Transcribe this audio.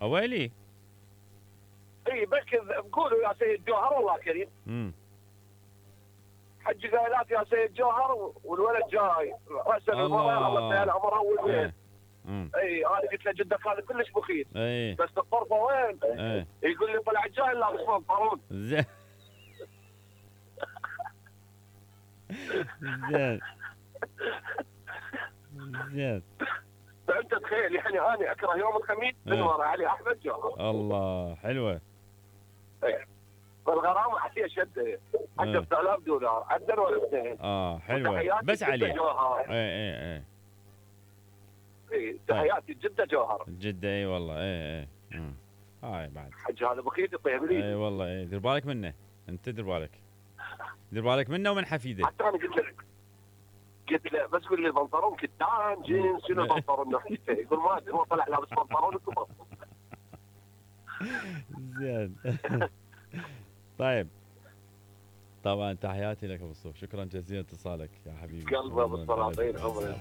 اويلي. اي بس بقولوا يا سيد جوهر والله كريم. حج قايلات يا سيد جوهر والولد جاي راسل المرأة الله يسهل عمرها والولد. اي انا قلت له جدك هذا كلش بخيل. بس الطرفه وين؟ يقول لي طلع جاي لابس بنطلون. زين. زين. زين. فانت تخيل يعني انا اكره يوم الخميس من ورا علي احمد جوهر. الله حلوه. فالغرامه حكي شد 10,000 دولار عدل ولا اثنين. حلوه بس عليه. اي تحياتي جده جوهر. جده اي والله هاي بعد حج هذا بخيت يطيب لي. اي والله دير بالك منه انت دير بالك منه ومن حفيده. حتى انا قلت له بس قول لي البنطلون كتان جينز شنو البنطلون نحكي يقول ما ادري هو طلع لابس بنطلون وكبر. زين. طيب طبعا تحياتي لك ابو الصوف، شكرا جزيلا اتصالك يا حبيبي. قلبي ابو السلاطين عمري.